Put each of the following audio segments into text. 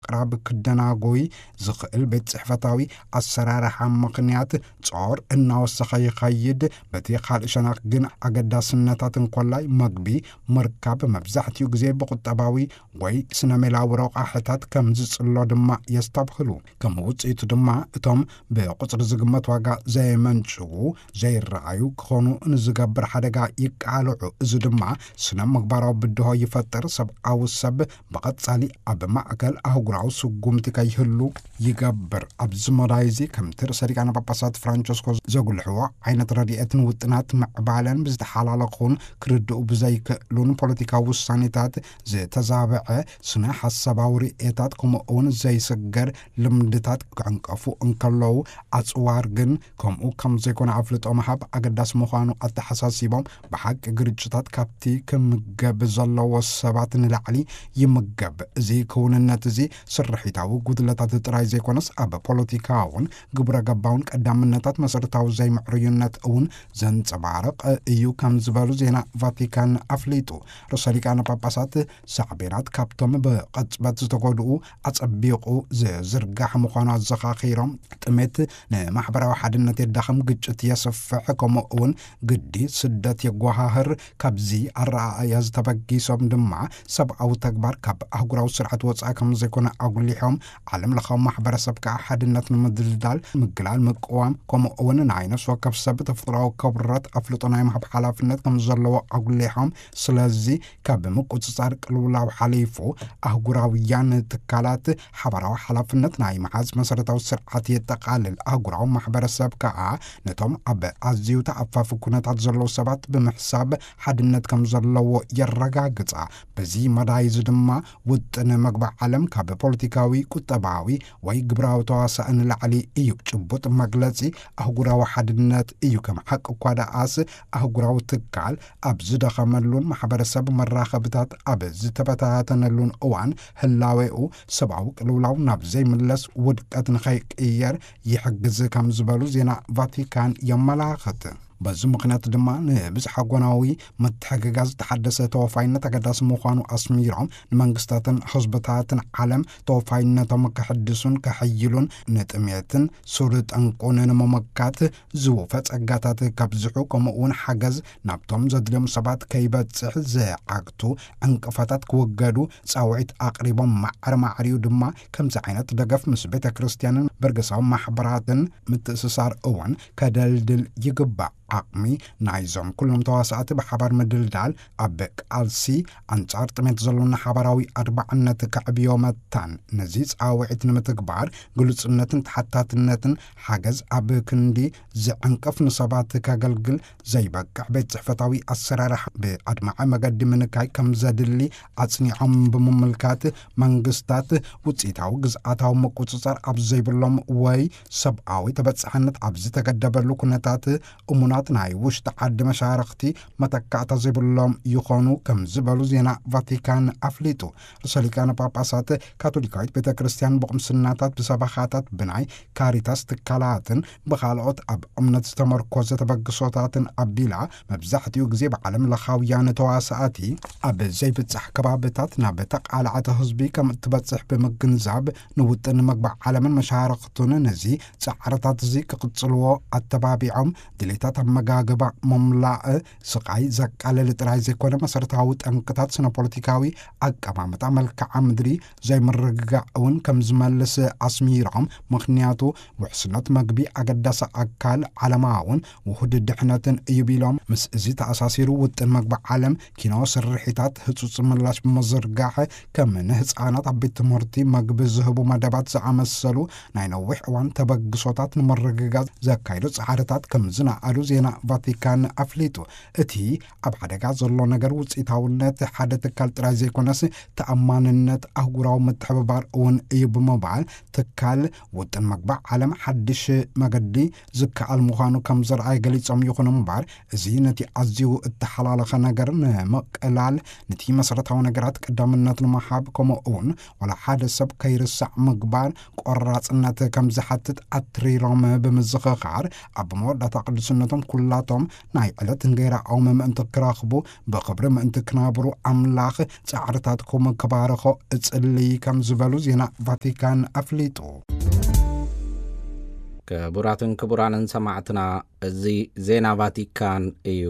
ምቅራብ ክደናጎይ ዝኽእል ቤት ጽሕፈታዊ ኣሰራርሓ ምኽንያት ጾር እናወሰኸ ይኸይድ። በቲ ካልእ ሸነኽ ግን ኣገዳስነታት እንኮላይ መግቢ ምርካብ መብዛሕትኡ ግዜ ብቁጠባዊ ወይ ስነ ሜላዊ ረቋሕታት ከም ዝጽሎ ድማ የስተብህሉ። ከም ውጽኢቱ ድማ እቶም ብቁጽሪ ዝግመት ዋጋ ዘየመንጭዉ፣ ዘይረኣዩ ክኾኑ ንዝገብር ሓደጋ ይቃልዑ። እዚ ድማ ስነ ምግባራዊ ብድሆ ይፈጥር። ሰብኣዊ ሰብ ብቐጻሊ ኣብ ማእከል ኣህጉራዊ ስጉምቲ ከይህሉ ይገብር። ኣብዚ መዳይ እዚ ከምቲ ርእሰ ሊቃነ ጳጳሳት ፍራንቸስኮ ዘጉልሕዎ ዓይነት ረድኤትን ውጥናት ምዕባለን ብዝተሓላለኹን ክርድኡ ብዘይክእሉን ፖለቲካዊ ውሳኔታት ዝተዛብዐ ስነ ሓሳባዊ ርእየታት ከምኡ እውን ዘይስገር ልምድታት ክዕንቀፉ እንከለዉ ኣጽዋር ግን ከምኡ ከም ዘይኮነ ኣፍልጦ ምሃብ ኣገዳሲ ምዃኑ ኣተሓሳሲቦም፣ ብሓቂ ግርጭታት ካብቲ ክምገብ ዘለዎ ሰባት ንላዕሊ ይምገብ። እዚ ክውንነት እዚ ስርሒታዊ ጉድለታት ጥራይ ዘይኮነስ ኣብ ፖለቲካውን ግብረ ገባውን ቀዳምነታት መሰረታዊ ዘይምዕሩይነት እውን ዘንጸባርቕ እዩ ከም ዝበሉ ዜና ቫቲካን ኣፍሊጡ። ርእሰ ሊቃነ ጳጳሳት ሳዕቤናት ካብቶም ብቐጽበት ዝተጎድኡ ኣጸቢቑ ዝዝርጋሕ ምዃኑ ኣዘኻኺሮም፣ ጥሜት ንማሕበራዊ ሓድነት የዳኽም፣ ግጭት የስፍሕ፣ ከምኡ እውን ግዲ ስደት የጓሃህር። ካብዚ ኣረኣእያ ዝተበጊሶም ድማ ሰብኣዊ ተግባር ካብ ኣህጉራዊ ስርዓት ወጻኢ ከም ዘይኮነ ኣጉሊሖም፣ ዓለም ለኻዊ ማሕበረሰብ ከዓ ሓድነት ንምድልዳል ምግላል፣ ምቅዋም፣ ከምኡ እውን ናይ ነፍሲ ወከፍ ሰብ ተፈጥሮኣዊ ክብረት ኣፍልጦ ናይ ምሃብ ሓላፍነት ከም ዘለዎ ኣጉሊሖም፣ ስለዚ ካብ ምቁጽጻር ቅልውላው ሓሊፉ ኣህጉራውያን ትካላት ሓባራዊ ሓላፍነት ናይ መሓዝ መሰረታዊ ስርዓት የጠቓልል። ኣህጉራዊ ማሕበረሰብ ከኣ ነቶም ኣብ ኣዝዩ ተኣፋፊ ኩነታት ዘለዉ ሰባት ብምሕሳብ ሓድነት ከም ዘለዎ የረጋግጻ። በዚ መዳይ እዚ ድማ ውጥን መግቢ ዓለም ካብ ፖለቲካዊ፣ ቁጠባዊ ወይ ግብራዊ ተዋሳእ ንላዕሊ እዩ። ጭቡጥ መግለጺ ኣህጉራዊ ሓድነት እዩ። ከም ሓቂ እኳ ደኣስ ኣህጉራዊ ትካል ኣብ ዝደኸመሉን ማሕበረሰብ መራኸብታት ኣብ ዝተበታተነሉን እዋን ህላዌኡ ሰብኣዊ ቅልውላው ናብ ዘይምለስ ውድቀት ንኸይቅየር ይሕግዝ ከም ዝበሉ ዜና ቫቲካን የመላኽት። በዚ ምኽንያት ድማ ንብዝሓ ጎናዊ ምትሕግጋዝ ዝተሓደሰ ተወፋይነት ኣገዳሲ ምዃኑ ኣስሚሮም፣ ንመንግስታትን ህዝብታትን ዓለም ተወፋይነቶም ከሕድሱን ከሕይሉን፣ ንጥሜትን ሱር ጠንቁን ንምምካት ዝወፈ ጸጋታት ከብዝሑ፣ ከምኡ እውን ሓገዝ ናብቶም ዘድልዮም ሰባት ከይበጽሕ ዝዓግቱ ዕንቅፋታት ክወገዱ ጻውዒት ኣቕሪቦም፣ ማዕረ ማዕሪኡ ድማ ከምዚ ዓይነት ደገፍ ምስ ቤተ ክርስቲያንን በርገሳዊ ማሕበራትን ምትእስሳር እውን ከደልድል ይግባእ። ዓቕሚ ናይዞም ኩሎም ተዋሳእቲ ብሓባር ምድልዳል ኣብ ቃልሲ ኣንጻር ጥሜት ዘሎና ሓባራዊ ኣድማዕነት ከዕብዮ መታን፣ ነዚ ጻውዒት ንምትግባር ግሉጽነትን ተሓታትነትን ሓገዝ ኣብ ክንዲ ዝዕንቅፍ ንሰባት ከገልግል ዘይበቅዕ ቤት ጽሕፈታዊ ኣሰራርሓ ብኣድማዒ መገዲ ምንካይ ከም ዘድሊ ኣጽኒዖም ብምምልካት፣ መንግስታት ውጽኢታዊ ግዝኣታዊ ምቁጽጻር ኣብ ዘይብሎም ወይ ሰብኣዊ ተበጻሕነት ኣብ ዝተገደበሉ ኩነታት እሙናት ናይ ውሽጢ ዓዲ መሻርኽቲ መተካእታ ዘይብሎም ይኾኑ ከም ዝበሉ ዜና ቫቲካን ኣፍሊጡ። ርእሰ ሊቃነ ጳጳሳት ካቶሊካዊት ቤተ ክርስቲያን ብቕምስናታት፣ ብሰበኻታት፣ ብናይ ካሪታስ ትካላትን ብኻልኦት ኣብ እምነት ዝተመርኮዘ ተበግሶታትን ኣቢላ፣ መብዛሕትኡ ግዜ ብዓለም ለኻውያን ተዋሳእቲ ኣብ ዘይብጻሕ ከባብታት ናብ ተቓላዕቲ ህዝቢ ከም እትበጽሕ ብምግንዛብ፣ ንውጥን መግቢ ዓለምን መሻርኽቱን ነዚ ጻዕርታት እዚ ክቕጽልዎ ኣተባቢዖም፣ ድሌታት ኣመጋግባ ምምላእ ስቓይ ዘቃልል ጥራይ ዘይኮነ፣ መሰረታዊ ጠንቅታት ስነ ፖለቲካዊ ኣቀማምጣ መልክዓ ምድሪ ዘይምርግጋእ እውን ከም ዝመልስ ኣስሚሮም፣ ምኽንያቱ ውሕስነት መግቢ ኣገዳሲ ኣካል ዓለማውን ውሁድ ድሕነትን እዩ ቢሎም፣ ምስ እዚ ተኣሳሲሩ ውጥን መግቢ ዓለም ኪኖ ስርሒታት ህጹጽ ምላሽ ብምዝርጋሕ፣ ከም ንህጻናት ኣብ ቤት ትምህርቲ መግቢ ዝህቡ መደባት ዝኣመሰሉ ናይ ነዊሕ እዋን ተበግሶታት ንምርግጋጽ ዘካይዱ ጻዕርታት ከም ዝነኣዱ ዜና ቫቲካን ኣፍሊጡ። እቲ ኣብ ሓደጋ ዘሎ ነገር ውጽኢታውነት ሓደ ትካል ጥራይ ዘይኮነስ፣ ተኣማንነት ኣህጉራዊ ምትሕብባር እውን እዩ ብምባል፣ ትካል ውጥን መግቢ ዓለም ሓድሽ መገዲ ዝከኣል ምዃኑ ከም ዘርኣየ ገሊጾም። ይኹን እምበር፣ እዚ ነቲ ኣዝዩ እተሓላለኸ ነገር ንምቅላል፣ ነቲ መሰረታዊ ነገራት ቀዳምነት ንምሃብ፣ ከምኡ እውን ዋላ ሓደ ሰብ ከይርሳዕ ምግባር ቆራጽነት ከም ዝሓትት ኣትሪሮም ብምዝኽኻር፣ ኣብ መወዳእታ ቅዱስነቶም ኩላቶም ናይ ዕለት እንጌራኦም ምእንቲ ክረኽቡ፣ ብኽብሪ ምእንቲ ክነብሩ ኣምላኽ ጻዕርታትኩም ክባርኾ እጽሊ፣ ከም ዝበሉ ዜና ቫቲካን ኣፍሊጡ። ክቡራትን ክቡራንን ሰማዕትና፣ እዚ ዜና ቫቲካን እዩ።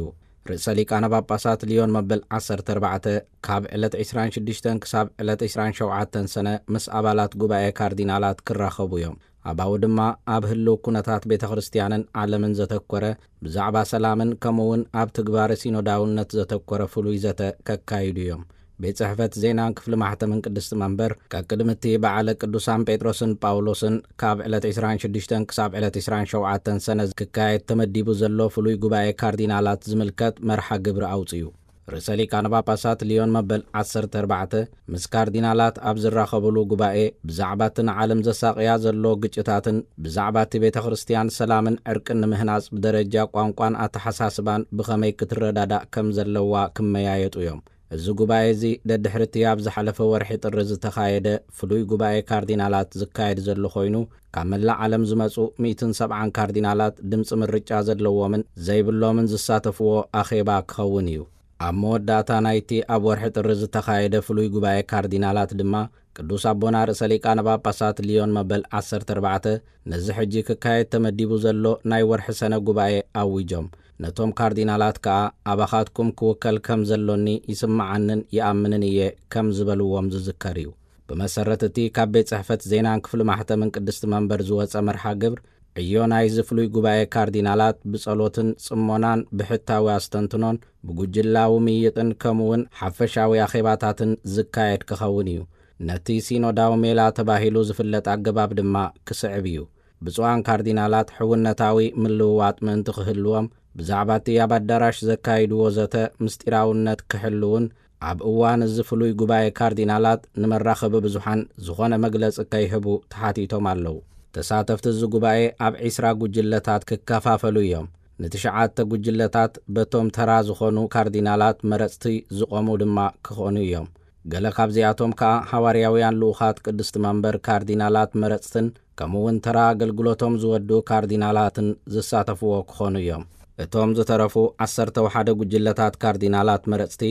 ርእሰ ሊቃነ ጳጳሳት ሊዮን መበል ዓሰርተ ኣርባዕተ ካብ ዕለት ዕስራን ሽዱሽተን ክሳብ ዕለት ዕስራን ሸውዓተን ሰነ ምስ ኣባላት ጉባኤ ካርዲናላት ክራኸቡ እዮም። ኣባኡ ድማ ኣብ ህልው ኩነታት ቤተ ክርስቲያንን ዓለምን ዘተኮረ፣ ብዛዕባ ሰላምን ከምኡ እውን ኣብ ትግባረ ሲኖዳውነት ዘተኮረ ፍሉይ ዘተ ከካይዱ እዮም። ቤት ጽሕፈት ዜናን ክፍሊ ማሕተምን ቅድስቲ መንበር፣ ቀቅድሚ እቲ በዓለ ቅዱሳን ጴጥሮስን ጳውሎስን ካብ ዕለት ዕስራን ሽዱሽተን ክሳብ ዕለት ዕስራን ሸውዓተን ሰነ ክካየድ ተመዲቡ ዘሎ ፍሉይ ጉባኤ ካርዲናላት ዝምልከት መርሓ ግብሪ ኣውጽኡ። ርእሰ ሊቃነ ጳጳሳት ሊዮን መበል ዓሰርተ ኣርባዕተ ምስ ካርዲናላት ኣብ ዝራኸብሉ ጉባኤ፣ ብዛዕባ እቲ ንዓለም ዘሳቕያ ዘሎ ግጭታትን ብዛዕባ እቲ ቤተ ክርስቲያን ሰላምን ዕርቅን ንምህናጽ ብደረጃ ቋንቋን ኣተሓሳስባን ብኸመይ ክትረዳዳእ ከም ዘለዋ ክመያየጡ እዮም። እዚ ጉባኤ እዚ ደድሕሪ እቲ ኣብ ዝሓለፈ ወርሒ ጥሪ ዝተኻየደ ፍሉይ ጉባኤ ካርዲናላት ዝካየድ ዘሎ ኮይኑ፣ ካብ መላእ ዓለም ዝመጹ ሚእትን ሰብዓን ካርዲናላት ድምፂ ምርጫ ዘለዎምን ዘይብሎምን ዝሳተፍዎ ኣኼባ ክኸውን እዩ። ኣብ መወዳእታ ናይቲ ኣብ ወርሒ ጥሪ ዝተኻየደ ፍሉይ ጉባኤ ካርዲናላት ድማ፣ ቅዱስ ኣቦና ርእሰ ሊቃነ ጳጳሳት ሊዮን መበል ዓሰርተ ኣርባዕተ ነዚ ሕጂ ክካየድ ተመዲቡ ዘሎ ናይ ወርሒ ሰነ ጉባኤ ኣዊጆም። ነቶም ካርዲናላት ከኣ፣ ኣባኻትኩም ክውከል ከም ዘሎኒ ይስምዓንን ይኣምንን እየ፣ ከም ዝበልዎም ዝዝከር እዩ። ብመሰረት እቲ ካብ ቤት ጽሕፈት ዜናን ክፍሊ ማሕተምን ቅድስቲ መንበር ዝወጸ መርሓ ግብር፣ ዕዮ ናይዚ ፍሉይ ጉባኤ ካርዲናላት ብጸሎትን ጽሞናን ብሕታዊ ኣስተንትኖን ብጉጅላዊ ምይይጥን ከምኡውን ሓፈሻዊ ኣኼባታትን ዝካየድ ክኸውን እዩ። ነቲ ሲኖዳዊ ሜላ ተባሂሉ ዝፍለጥ ኣገባብ ድማ ክስዕብ እዩ። ብፁዓን ካርዲናላት ሕውነታዊ ምልውዋጥ ምእንቲ ክህልዎም፣ ብዛዕባ እቲ ኣብ ኣዳራሽ ዘካይድዎ ዘተ ምስጢራውነት ክሕልውን፣ ኣብ እዋን እዚ ፍሉይ ጉባኤ ካርዲናላት ንመራኸቢ ብዙሓን ዝኾነ መግለጺ ከይህቡ ተሓቲቶም ኣለዉ። ተሳተፍቲ እዚ ጉባኤ ኣብ ዒስራ ጉጅለታት ክከፋፈሉ እዮም። ንትሽዓተ ጉጅለታት በቶም ተራ ዝኾኑ ካርዲናላት መረጽቲ ዝቖሙ ድማ ክኾኑ እዮም። ገለ ካብዚኣቶም ከኣ ሃዋርያውያን ልኡኻት ቅድስቲ መንበር ካርዲናላት መረጽትን ከምኡ እውን ተራ ኣገልግሎቶም ዝወድኡ ካርዲናላትን ዝሳተፍዎ ክኾኑ እዮም። እቶም ዝተረፉ ዓሰርተ ወሓደ ጉጅለታት ካርዲናላት መረጽቲ፣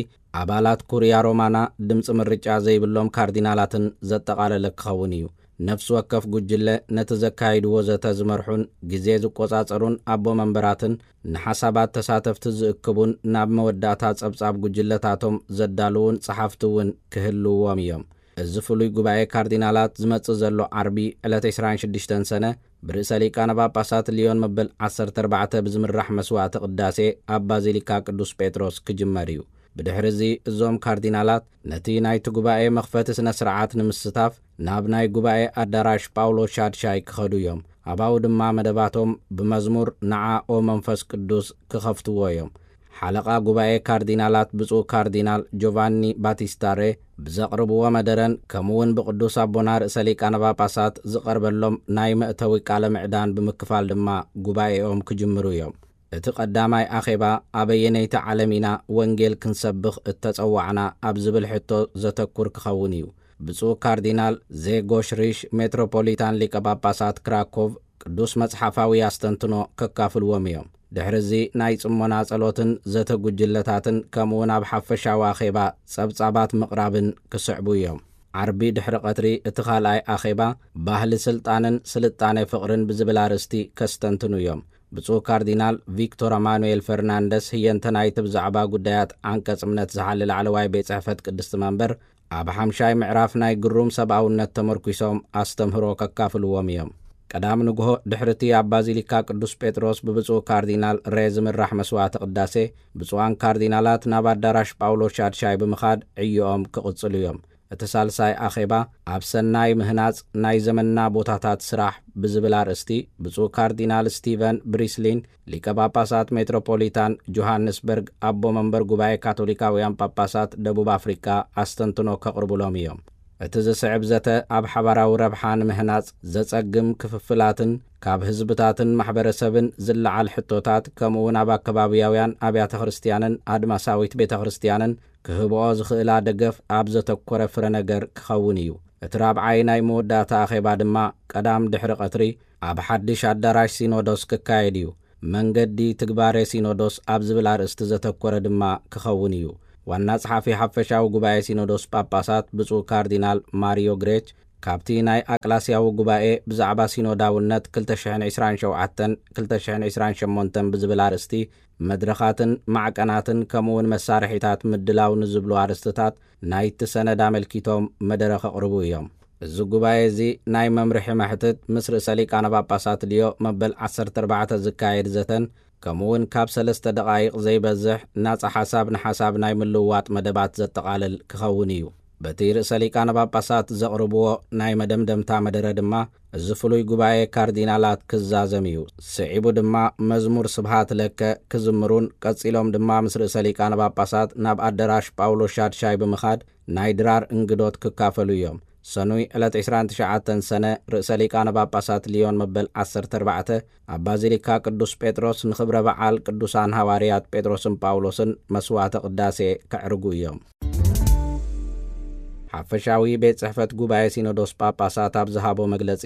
ኣባላት ኩርያ ሮማና ድምፂ ምርጫ ዘይብሎም ካርዲናላትን ዘጠቓለለ ክኸውን እዩ። ነፍሲ ወከፍ ጉጅለ ነቲ ዘካይድዎ ዘተ ዝመርሑን ግዜ ዝቆጻጸሩን ኣቦ መንበራትን ንሓሳባት ተሳተፍቲ ዝእክቡን ናብ መወዳእታ ጸብጻብ ጉጅለታቶም ዘዳልዉን ጸሓፍቲ እውን ክህልውዎም እዮም። እዚ ፍሉይ ጉባኤ ካርዲናላት ዝመጽእ ዘሎ ዓርቢ ዕለት ዕስራን ሽዱሽተን ሰነ ብርእሰ ሊቃነ ጳጳሳት ሊዮን መበል ዓሰርተ ኣርባዕተ ብዝምራሕ መስዋዕተ ቅዳሴ ኣብ ባዚሊካ ቅዱስ ጴጥሮስ ክጅመር እዩ። ብድሕሪ እዚ እዞም ካርዲናላት ነቲ ናይቲ ጉባኤ መኽፈቲ ስነ ስርዓት ንምስታፍ ናብ ናይ ጉባኤ ኣዳራሽ ጳውሎስ ሻድሻይ ክኸዱ እዮም። ኣባኡ ድማ መደባቶም ብመዝሙር ንዓ ኦ መንፈስ ቅዱስ ክኸፍትዎ እዮም። ሓለቓ ጉባኤ ካርዲናላት ብፁዕ ካርዲናል ጆቫኒ ባቲስታ ሬ ብዘቕርብዎ መደረን ከምኡውን ብቅዱስ ኣቦና ርእሰ ሊቃነ ጳጳሳት ዝቐርበሎም ናይ መእተዊ ቃለ ምዕዳን ብምክፋል ድማ ጉባኤኦም ክጅምሩ እዮም። እቲ ቀዳማይ ኣኼባ ኣበየነይቲ ዓለም ኢና ወንጌል ክንሰብኽ እተጸዋዕና ኣብ ዝብል ሕቶ ዘተኩር ክኸውን እዩ። ብፁዕ ካርዲናል ዜጎሽ ሪሽ ሜትሮፖሊታን ሊቀ ጳጳሳት ክራኮቭ ቅዱስ መጽሓፋዊ ኣስተንትኖ ከካፍልዎም እዮም። ድሕሪ እዚ ናይ ጽሞና ጸሎትን ዘተ ጉጅለታትን ከምኡውን ኣብ ሓፈሻዊ ኣኼባ ጸብጻባት ምቕራብን ክስዕቡ እዮም። ዓርቢ ድሕሪ ቀትሪ እቲ ካልኣይ ኣኼባ ባህሊ ስልጣንን ስልጣኔ ፍቕርን ብዝብል ኣርእስቲ ከስተንትኑ እዮም። ብፁዕ ካርዲናል ቪክቶር ኣማኑኤል ፈርናንደስ ህየንተ ናይቲ ብዛዕባ ጉዳያት ዓንቀጽ እምነት ዝሓሊ ላዕለዋይ ቤት ጽሕፈት ቅድስቲ መንበር ኣብ ሓምሻይ ምዕራፍ ናይ ግሩም ሰብኣውነት ተመርኲሶም ኣስተምህሮ ከካፍልዎም እዮም። ቀዳም ንግሆ ድሕሪ እቲ ኣብ ባዚሊካ ቅዱስ ጴጥሮስ ብብፁዕ ካርዲናል ሬ ዝምራሕ መስዋዕተ ቅዳሴ፣ ብፁዓን ካርዲናላት ናብ ኣዳራሽ ጳውሎስ ሻድሻይ ብምኻድ ዕዮኦም ክቕጽሉ እዮም። እቲ ሳልሳይ ኣኼባ ኣብ ሰናይ ምህናጽ ናይ ዘመንና ቦታታት ስራሕ ብዝብል ኣርእስቲ ብፁዕ ካርዲናል ስቲቨን ብሪስሊን ሊቀ ጳጳሳት ሜትሮፖሊታን ጆሃንስበርግ ኣቦ መንበር ጉባኤ ካቶሊካውያን ጳጳሳት ደቡብ ኣፍሪቃ ኣስተንትኖ ከቕርቡሎም እዮም። እቲ ዝስዕብ ዘተ ኣብ ሓባራዊ ረብሓ ንምህናጽ ዘጸግም ክፍፍላትን ካብ ህዝብታትን ማሕበረሰብን ዝለዓል ሕቶታት ከምኡውን ኣብ ኣከባብያውያን ኣብያተ ክርስቲያንን ኣድማሳዊት ቤተ ክርስቲያንን ክህብኦ ዝኽእላ ደገፍ ኣብ ዘተኮረ ፍረ ነገር ክኸውን እዩ። እቲ ራብዓይ ናይ መወዳእታ ኣኼባ ድማ ቀዳም ድሕሪ ቀትሪ ኣብ ሓድሽ ኣዳራሽ ሲኖዶስ ክካየድ እዩ። መንገዲ ትግባሬ ሲኖዶስ ኣብ ዝብል ኣርእስቲ ዘተኮረ ድማ ክኸውን እዩ። ዋና ጸሓፊ ሓፈሻዊ ጉባኤ ሲኖዶስ ጳጳሳት ብፁዕ ካርዲናል ማሪዮ ግሬች ካብቲ ናይ ኣቅላስያዊ ጉባኤ ብዛዕባ ሲኖዳውነት ክልተ ሽሕን ዕስራን ሸውዓተን ክልተ ሽሕን ዕስራን ሸሞንተን ብዝብል ኣርእስቲ መድረኻትን ማዕቀናትን ከምኡውን መሳርሒታት ምድላው ንዝብሉ ኣርእስትታት ናይቲ ሰነድ ኣመልኪቶም መደረ ከቕርቡ እዮም። እዚ ጉባኤ እዚ ናይ መምርሒ መሕትት ምስ ርእሰ ሊቃነ ጳጳሳት ሊዮ መበል ዓሰርተ ኣርባዕተ ዝካየድ ዘተን ከምኡውን ካብ ሰለስተ ደቓይቕ ዘይበዝሕ ናጻ ሓሳብ ንሓሳብ ናይ ምልውዋጥ መደባት ዘጠቓልል ክኸውን እዩ። በቲ ርእሰ ሊቃነ ጳጳሳት ዘቕርብዎ ናይ መደምደምታ መደረ ድማ እዚ ፍሉይ ጉባኤ ካርዲናላት ክዛዘም እዩ። ስዒቡ ድማ መዝሙር ስብሃት ለከ ክዝምሩን ቀጺሎም ድማ ምስ ርእሰ ሊቃነ ጳጳሳት ናብ ኣደራሽ ጳውሎስ ሻድሻይ ብምኻድ ናይ ድራር እንግዶት ክካፈሉ እዮም። ሰኑይ ዕለት ዕስራን ትሽዓተን ሰነ ርእሰ ሊቃነ ጳጳሳት ሊዮን መበል ዓሰርተ ኣርባዕተ ኣብ ባዚሊካ ቅዱስ ጴጥሮስ ንኽብረ በዓል ቅዱሳን ሃዋርያት ጴጥሮስን ጳውሎስን መስዋዕተ ቅዳሴ ከዕርጉ እዮም። ሓፈሻዊ ቤት ጽሕፈት ጉባኤ ሲኖዶስ ጳጳሳት ኣብ ዝሃቦ መግለጺ፣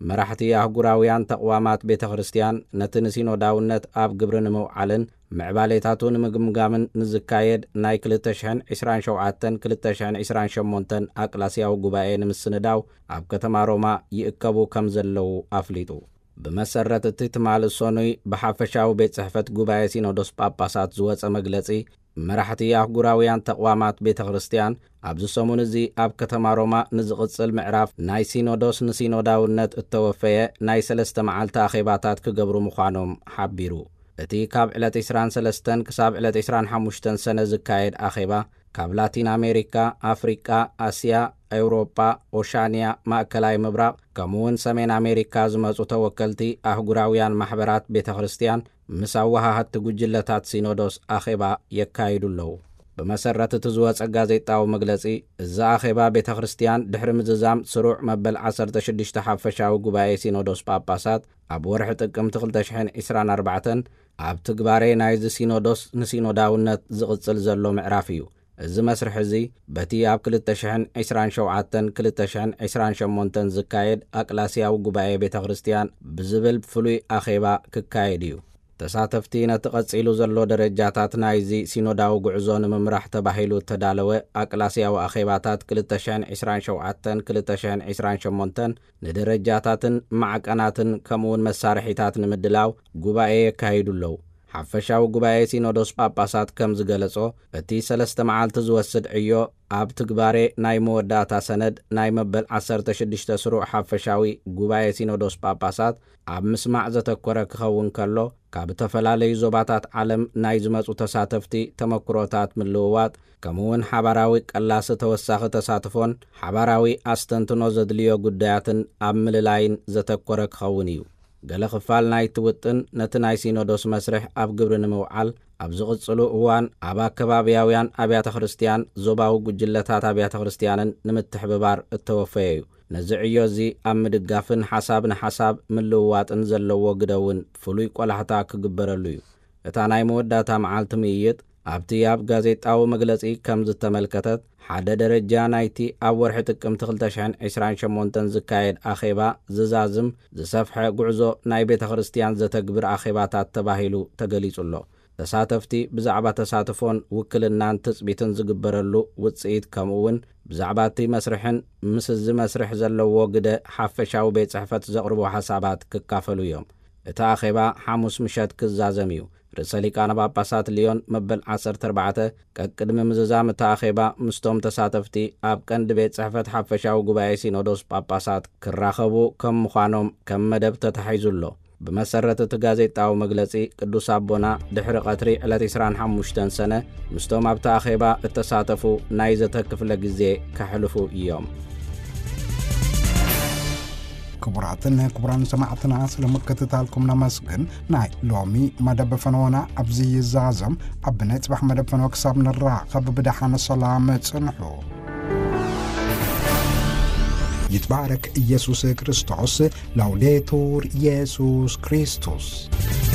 መራሕቲ ኣህጉራውያን ተቕዋማት ቤተ ክርስቲያን ነቲ ንሲኖዳውነት ኣብ ግብሪ ንምውዓልን ምዕባሌታቱ ንምግምጋምን ንዝካየድ ናይ ክልተ ሽሕን ዕስራን ሸውዓተን ክልተ ሽሕን ዕስራን ሸሞንተን ኣቅላስያዊ ጉባኤ ንምስንዳው ኣብ ከተማ ሮማ ይእከቡ ከም ዘለዉ ኣፍሊጡ። ብመሰረት እቲ ትማሊ ሰኑይ ብሓፈሻዊ ቤት ጽሕፈት ጉባኤ ሲኖዶስ ጳጳሳት ዝወጸ መግለጺ፣ መራሕቲ ኣህጉራውያን ተቕዋማት ቤተ ክርስቲያን ኣብዚ ሰሙን እዚ ኣብ ከተማ ሮማ ንዝቕጽል ምዕራፍ ናይ ሲኖዶስ ንሲኖዳውነት እተወፈየ ናይ ሰለስተ መዓልቲ ኣኼባታት ክገብሩ ምዃኖም ሓቢሩ። እቲ ካብ ዕለት ዕስራን ሰለስተን ክሳብ ዕለት ዕስራን ሓሙሽተን ሰነ ዝካየድ ኣኼባ፣ ካብ ላቲን ኣሜሪካ፣ ኣፍሪቃ፣ ኣስያ፣ ኤውሮጳ፣ ኦሻንያ፣ ማእከላይ ምብራቕ፣ ከምኡውን ሰሜን ኣሜሪካ ዝመጹ ተወከልቲ ኣህጉራውያን ማሕበራት ቤተ ክርስቲያን ምስ ኣወሃሃድቲ ጉጅለታት ሲኖዶስ ኣኼባ የካይዱ ኣለዉ። ብመሰረት እቲ ዝወጸ ጋዜጣዊ መግለጺ፣ እዚ ኣኼባ ቤተ ክርስቲያን ድሕሪ ምዝዛም ስሩዕ መበል ዓሰርተ ሽዱሽተ ሓፈሻዊ ጉባኤ ሲኖዶስ ጳጳሳት ኣብ ወርሒ ጥቅምቲ ክልተ ሽሕን ዕስራን ኣርባዕተን ኣብ ትግባሬ ናይዚ ሲኖዶስ ንሲኖዳውነት ዝቕጽል ዘሎ ምዕራፍ እዩ። እዚ መስርሕ እዚ በቲ ኣብ ክልተ ሽሕን ዕስራን ሸውዓተን ክልተ ሽሕን ዕስራን ሸሞንተን ዝካየድ ኣቅላስያዊ ጉባኤ ቤተ ክርስቲያን ብዝብል ፍሉይ ኣኼባ ክካየድ እዩ። ተሳተፍቲ ነቲ ቀጺሉ ዘሎ ደረጃታት ናይዚ ሲኖዳዊ ጉዕዞ ንምምራሕ ተባሂሉ እተዳለወ ኣቅላስያዊ ኣኼባታት ክልተ ሽሕን ዕስራን ሸውዓተን ክልተ ሽሕን ዕስራን ሸሞንተን ንደረጃታትን ማዕቀናትን ከምኡውን መሳርሒታት ንምድላው ጉባኤ የካይዱ ኣለዉ። ሓፈሻዊ ጉባኤ ሲኖዶስ ጳጳሳት ከም ዝገለጾ፣ እቲ ሰለስተ መዓልቲ ዝወስድ ዕዮ ኣብ ትግባሬ ናይ መወዳእታ ሰነድ ናይ መበል ዓሰርተ ሽዱሽተ ስሩዕ ሓፈሻዊ ጉባኤ ሲኖዶስ ጳጳሳት ኣብ ምስማዕ ዘተኮረ ክኸውን ከሎ፣ ካብ እተፈላለዩ ዞባታት ዓለም ናይ ዝመጹ ተሳተፍቲ ተመክሮታት ምልውዋጥ፣ ከምኡውን ሓባራዊ ቀላሲ ተወሳኺ ተሳትፎን ሓባራዊ ኣስተንትኖ ዘድልዮ ጉዳያትን ኣብ ምልላይን ዘተኮረ ክኸውን እዩ። ገለ ክፋል ናይቲ ውጥን ነቲ ናይ ሲኖዶስ መስርሕ ኣብ ግብሪ ንምውዓል ኣብ ዝቕጽሉ እዋን ኣብ ኣከባብያውያን ኣብያተ ክርስቲያን፣ ዞባዊ ጉጅለታት ኣብያተ ክርስቲያንን ንምትሕብባር እተወፈየ እዩ። ነዚ ዕዮ እዚ ኣብ ምድጋፍን ሓሳብ ንሓሳብ ምልውዋጥን ዘለዎ ግደ እውን ፍሉይ ቆላሕታ ክግበረሉ እዩ። እታ ናይ መወዳእታ መዓልቲ ምይይጥ ኣብቲ ኣብ ጋዜጣዊ መግለጺ ከም ዝተመልከተት፣ ሓደ ደረጃ ናይቲ ኣብ ወርሒ ጥቅምቲ ክልተ ሽሕን ዕስራን ሸሞንተን ዝካየድ ኣኼባ ዝዛዝም ዝሰፍሐ ጉዕዞ ናይ ቤተ ክርስቲያን ዘተግብር ኣኼባታት ተባሂሉ ተገሊጹ ኣሎ። ተሳተፍቲ ብዛዕባ ተሳትፎን ውክልናን ትጽቢትን ዝግበረሉ ውጽኢት፣ ከምኡ እውን ብዛዕባ እቲ መስርሕን ምስ እዚ መስርሕ ዘለዎ ግደ ሓፈሻዊ ቤት ጽሕፈት ዘቕርቦ ሓሳባት ክካፈሉ እዮም። እቲ ኣኼባ ሓሙስ ምሸት ክዛዘም እዩ። ርእሰ ሊቃነ ጳጳሳት ሊዮን መበል ዓሰርተ ኣርባዕተ ቀቅድሚ ምዝዛም እቲ ኣኼባ ምስቶም ተሳተፍቲ ኣብ ቀንዲ ቤት ጽሕፈት ሓፈሻዊ ጉባኤ ሲኖዶስ ጳጳሳት ክራኸቡ ከም ምዃኖም ከም መደብ ተታሒዙ ኣሎ። ብመሰረት እቲ ጋዜጣዊ መግለጺ፣ ቅዱስ ኣቦና ድሕሪ ቀትሪ ዕለት ዕስራን ሓሙሽተን ሰነ ምስቶም ኣብቲ ኣኼባ እተሳተፉ ናይ ዘተ ክፍለ ግዜ ከሕልፉ እዮም። ክቡራትን ክቡራን ሰማዕትና፣ ስለ ምክትታልኩም ነመስግን። ናይ ሎሚ መደብ ፈነወና ኣብዚ ይዛዘም። ኣብ ናይ ጽባሕ መደብ ፈነወ ክሳብ ንራኸብ ብደሓን ሰላም ጽንሑ። ይትባረክ ኢየሱስ ክርስቶስ። ላውዴቱር ኢየሱስ ክርስቶስ።